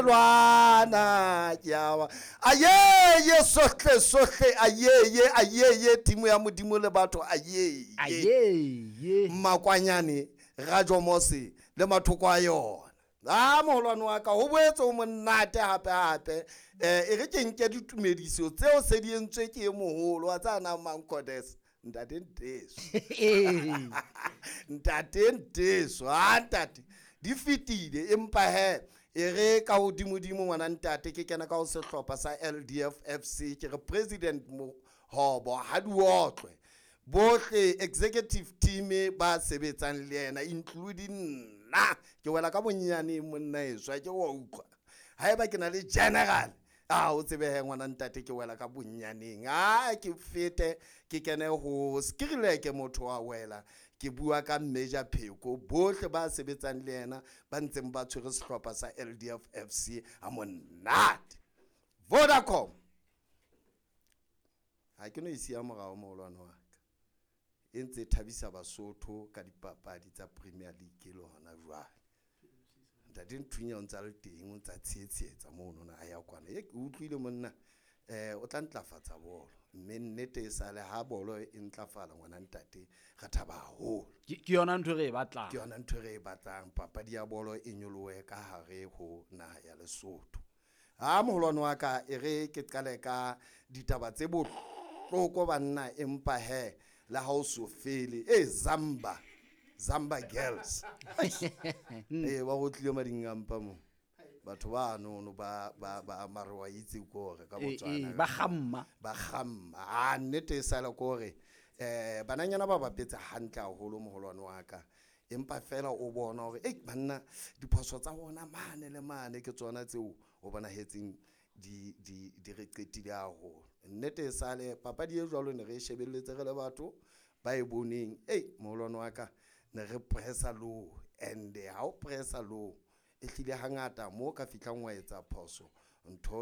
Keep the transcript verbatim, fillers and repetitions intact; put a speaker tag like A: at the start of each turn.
A: Lwana ke a ayeye sohle sohle ayeye ayeye timo ya Modimo le batho ayeye
B: ayeye
A: Makwanyane Rajomose le mathoko a yona. A moholwane wa ka ho boetse ho monate hape hape eh e re ke nke ditumediso tseo se di entswe ke e moholo wa tsa nang Mankodes ntate Nteso. Ntate Nteso, ha ntate di fetile empa he e re ka hodimodimo ngwana ntate ke kena ka ho sehlopha sa L D F F C ke re President Mohobo ha di otlwe bohle executive team ba sebetsang le yena including nna ke wela ka bonyane monna eswa ke wa utlwa haeba ke na le general a o tsebe ngwana ntate ke wela ka bonyaneng a ke fete ke kene ho Skrileke motho wa wela ke bua ka Major Pheko bohle ba sebetsang le yena ba ntseng ba tshwere sehlopha sa L D F F C a monate. Vodacom ha ke no isia morao moholwane wa ka e ntse thabisa Basotho ka dipapadi tsa Premier League le hona jwale. Ntate Nthunya o ntsa le teng o ntsa tsheetsheetsa mono na a ya kwana e ke utlwile monna eh o tla ntlafatsa bolo mme nnete e sale ha bolo e ntlafala ngwana ntate re thaba haholo.
B: Ke yona ntho re e batlang,
A: ke yona ntho re e batlang, papadi ya bolo e nyolohe ka hare ho naha ya Lesotho. Ha moholwane wa ka e re ke qale ka ditaba tse bohloko banna empa he le ha o so fele e Zamba Zamba girls eh ba go tlile madingampa mo batho ba nono ba ba ba mare wa itse gore ka Botswana
B: ba gamma
A: ba gamma a nnete e sala gore eh bananyana ba bapetse hantle haholo moholwane wa ka empa fela o bona hore eh banna diphoso tsa bona mane le mane ke tsona tseo o bona hetseng di di di re qetile haholo. Nnete e sale papadi e jwalo ne re shebelletse re le batho ba e boneng eh moholwane wa ka ne re pressa low and ha o pressa low e hlile hangata mo ka fihlang wa etsa phoso ntho